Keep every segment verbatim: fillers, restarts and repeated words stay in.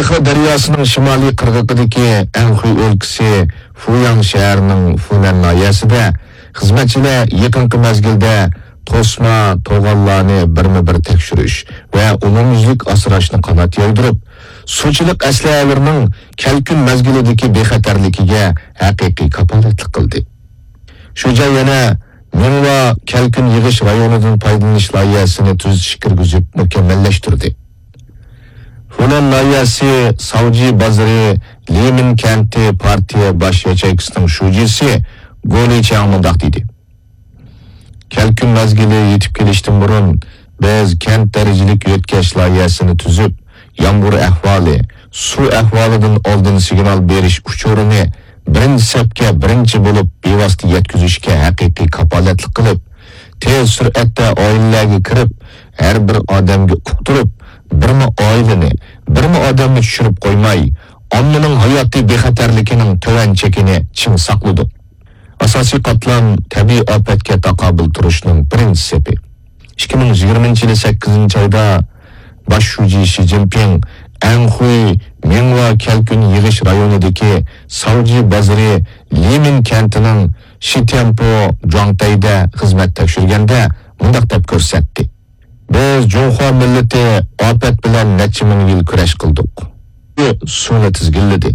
خې دەرياسىنىڭ شىمالىي قىرغىقىدىكى ئەنخۇي ئۆلكىسى فۇياڭ شەھىرىنىڭ فۇنەن ناھىيەسىدە خىزمەتچىلەر يېقىنقى مەزگىلدە توسما توغانلارنى بىرمۇبىر تەكشۈرۈش ۋە ئومۇميۈزلۈك ئاسراشنى قانات يايدۇرۇپ، سۇچىلىق ئەسلىھەلىرىنىڭ كەلكۈن مەزگىلىدىكى بىخەتەرلىكىگە ھەقىقىي كاپالەتلىك قىلدى. شۇ جاي يەنە مىڭۋا كەلكۈن يىغىش رايونىدىن پايدىلىنىش لايىھەسىنى تۈزىتىش كىرگۈزۈپ مۇكەممەللەشتۈردى. فۇنەن ناھىيەسى ساۋجى بازىرى لىمىن كەنتى پارتىيە باش ياچېيكىسىنىڭ شۇجىسى گولى چياڭ مۇنداق دېدى: كەلكۈن مەزگىلى يېتىپ كېلىشتىن بۇرۇن، بىز كەنت دەرىجىلىك يۆتكەش لايىھەسىنى تۈزۈپ، يامغۇر ئەھۋالى، سۇ ئەھۋالىدىن ئالدىن سىگنال بېرىش ئۇچۇرىنى بىرىنچى سەپكە بىرىنچى بولۇپ بىۋاسىتە يەتكۈزۈشكە ھەقىقىي كاپالەتلىك قىلىپ، تېز سۈرئەتتە ئائىلىلەرگە كىرىپ، ھەر بىر ئادەمگە ئۇقتۇرۇپ، بىرمۇ ئائىلىنى، بىرمۇ ئادەمنى چۈشۈرۈپ قويماي، ئاممىنىڭ ھاياتىي بىخەتەرلىكىنىڭ تۆۋەن چېكىنى چىڭ ساقلىدۇق. ئاساسىي قاتلام تەبىئىي ئاپەتكە تاقابىل تۇرۇشنىڭ بىرىنچى سېپى. ئىككى مىڭ يىگىرمىنچى يىلى سەككىزىنچى ئايدا باش شۇجى شى جىنپىڭ ئەنخۇي مىڭۋا كەلكۈن يىغىش رايونىدىكى ساۋجى بازىرى لىمىن كەنتىنىڭ شىتيەنپو جۇاڭتەيدە خىزمەت تەكشۈرگەندە مۇنداق دەپ كۆرسەتتى: بىز جۇڭخۇا مىللىتى ئاپەت بىلەن نەچچە مىڭ يىل كۈرەش قىلدۇق. سۇنى تىزگىنلىدى.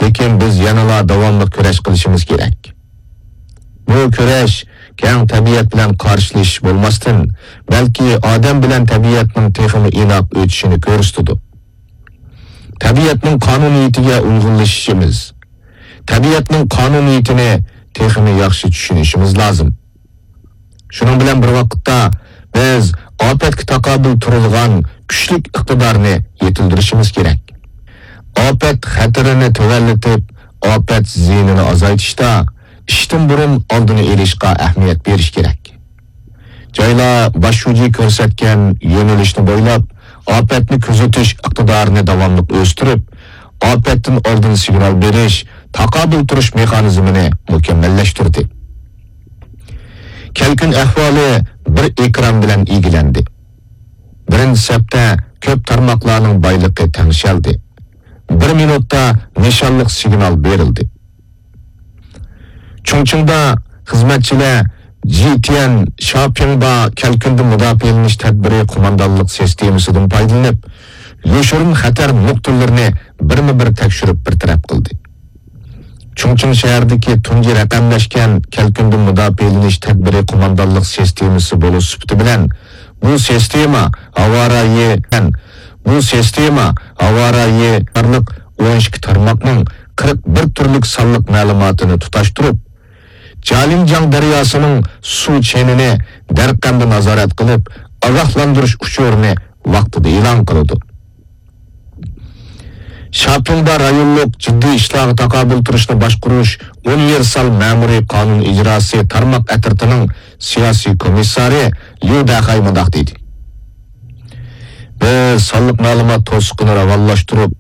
لېكىن بىز يەنىلا داۋاملىق كۈرەش قىلىشىمىز كېرەك. بۇ كۈرەش كەڭ تەبىئەت بىلەن قارشىلىشىش بولماستىن، بەلكى ئادەم بىلەن تەبىئەتنىڭ تېخىمۇ ئىناق ئۆتۈشىنى كۆرسىتىدۇ. تەبىئەتنىڭ قانۇنىيىتىگە ئۇيغۇنلىشىشىمىز، تەبىئەتنىڭ قانۇنىيىتىنى تېخىمۇ ياخشى چۈشىنىشىمىز لازىم. شۇنىڭ بىلەن بىر ۋاقىتتا، بىز ئاپەتكە تاقابىل تۇرىدىغان كۈچلۈك ئىقتىدارنى يېتىلدۈرۈشىمىز كېرەك. ئاپەت خەتىرىنى تۆۋەنلىتىپ، ئاپەت زىيىنىنى ئازايتىشتا ئىشتىن بۇرۇن ئالدىنى ئېلىشقا ئەھمىيەت بېرىش كېرەك. جايلار باش شۇجى كۆرسەتكەن يۆنىلىشنى بويلاپ، ئاپەتنى كۆزىتىش ئىقتىدارىنى داۋاملىق ئۆستۈرۈپ، ئاپەتتىن ئالدىن سىگنال بېرىش، تاقابىل تۇرۇش مېخانىزمىنى مۇكەممەللەشتۈردى. كەلكۈن ئەھۋالى بىر ئېكران بىلەن ئىگىلەندى. بىرىنچى سەپتە كۆپ تارماقلارنىڭ بايلىقى تەڭشەلدى. بىر مىنۇتتا نىشانلىق سىگنال بېرىلدى. چۇڭچىڭدا خىزمەتچىلەر جىتيەن شاپيىڭبا كەلكۈندىن مۇداپىئەلىنىش تەدبىرى قوماندانلىق سىستېمىسىدىن پايدىلىنىپ، يوشۇرۇن خەتەر نۇقتىلىرىنى بىرمۇ بىر تەكشۈرۈپ بىر تەرەپ قىلدى. چۇڭچىڭ شەھىرىدىكى تۇنجى رەقەملەشكەن كەلكۈندىن مۇداپىئەلىنىش تەدبىرى قوماندانلىق سىستېمىسى بولۇش سۈپىتى بىلەن، بۇ سىستېما ھاۋارايى، بۇ سىستېما ھاۋارايى قاتارلىق ئون ئىككى تارماقنىڭ قىرىق بىر تۈرلۈك سانلىق مەلۇماتىنى تۇتاشتۇرۇپ، جالىڭجياڭ دەرياسىنىڭ سۇ چېنىنى دەرقەمدە نازارەت قىلىپ، ئاگاھلاندۇرۇش ئۇچۇرىنى ۋاقتىدا ئېلان قىلىدۇ. شاپيىڭدا رايونلۇق جىددىي ئىشلارغا تاقابىل تۇرۇشنى باشقۇرۇش ئۇنىۋېرسال مەمۇرىي قانۇن ئىجراسى تارماق ئەترىتىنىڭ سىياسىي كومىسسارى ليۇ دەخەي مۇنداق دېدى: بىز سانلىق مەلۇمات توسۇقىنى راۋانلاشتۇرۇپ،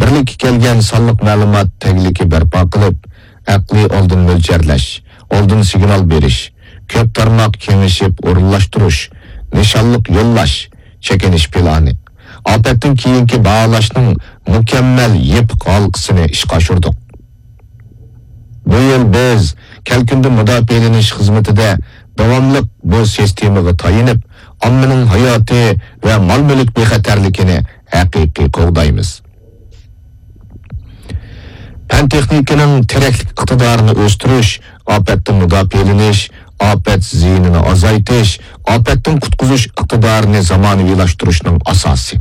بىرلىككە كەلگەن سانلىق مەلۇمات تەگلىكى بەرپا قىلىپ، ئەقلىي ئالدىن مۆلچەرلەش، ئالدىن سىگنال بېرىش، كۆپ تارماق كېڭىشىپ ئورۇنلاشتۇرۇش، نىشانلىق يوللاش، چېكىنىش پىلانى، ئاپەتتىن كېيىنكى باھالاشنىڭ مۇكەممەل يېپىق ھالقىسىنى ئىشقا ئاشۇردۇق. بۇ يىل بىز كەلكۈندىن مۇداپىئەلىنىش خىزمىتىدە داۋاملىق بۇ سىستېمىغا تايىنىپ، ئاممىنىڭ ھاياتى ۋە مال-مۈلۈك بىخەتەرلىكىنى ھەقىقىي قوغدايمىز. پەن-تېخنىكىنىڭ تىرەكلىك ئىقتىدارىنى ئۆستۈرۈش، ئاپەتتىن مۇداپىئەلىنىش، ئاپەت زىيىنىنى ئازايتىش، ئاپەتتىن قۇتقۇزۇش ئىقتىدارىنى زامانىۋىلاشتۇرۇشنىڭ ئاساسى.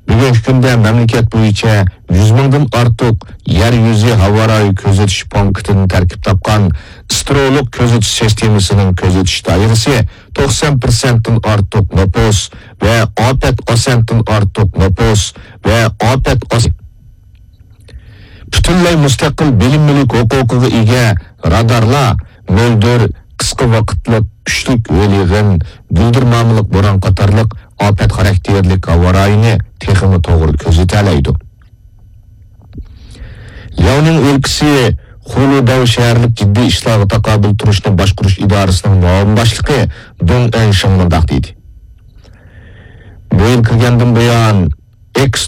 بۈگۈنكى كۈندە مەملىكەت بويىچە يۈز مىڭدىن ئارتۇق يەر يۈزى ھاۋارايى كۆزىتىش پونكىتىدىن تەركىب تاپقان ئىستېرېئولۇق كۆزىتىش سىستېمىسىنىڭ كۆزىتىش دائىرىسى توقسان پىرسەنتتىن ئارتۇق نوپۇس ۋە ئاپەت پىرسەنتتىن ئارتۇق نوپۇس ۋە ئاپەت ئاس-، پۈتۈنلەي مۇستەقىل بىلىم مۈلۈك ھوقۇقىغا ئىگە رادارلار مۆلدۈر، قىسقا ۋاقىتلىق كۈچلۈك ھۆل يېغىن، گۈلدۈرمامىلىق بوران قاتارلىق ئاپەت خاراكتېرلىك ھاۋارايىنى تېخىمۇ توغرا كۆزىتەلەيدۇ. لياۋنىڭ ئۆلكىسى خۇلۇداۋ شەھەرلىك جىددىي ئىشلارغا تاقابىل تۇرۇشنى باشقۇرۇش ئىدارىسىنىڭ مۇئاۋىن باشلىقى دۇڭ ئېنشىڭ مۇنداق دېدى: بۇ يىل كىرگەندىن بۇيان، ئېكس